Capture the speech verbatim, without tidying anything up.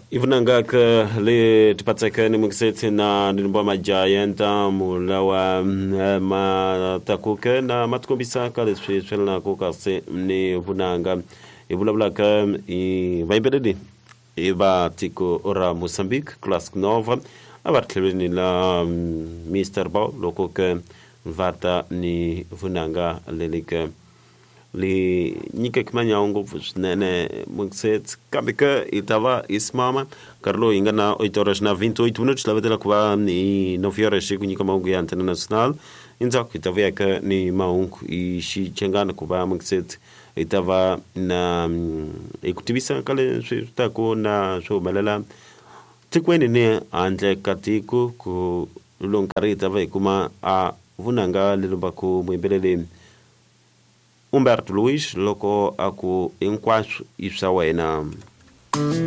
Ivunanga ke le tipatseke ni mukisetse na nilimba majayenta mulawa matakuke na matikombisaka leswi swi yelanaka kasi ni vunanga. Hi vulavulaka hi vayimbeleri hi va tiko ra Mozambique, Classic Nova, a va ri tlhelweni la Mister Bow loko ke va ta ni vunanga leli ke li nyikeke manyawu ngopfu swinene mukisetse. Kambe ke hi ta va hi simama nkarhi lowu hi nga na oito horas na vinte e oito minutos, lavetela ku va hi nove horas ku nyika mahungu ya Antena Nacional. Endzhaku hi ta vuya ke ni mahungu hi xichangana ku va mukisetse hi ta va na hi ku tivisa ka leswi swi taku na swi humelela tikweni ni handle ka tiko. Ku lowu nkarhi hi ta va hi kuma a vunanga lelimbaku muyimbeleri Humberto Luiz loko a ku hinkwaswo i swa wena.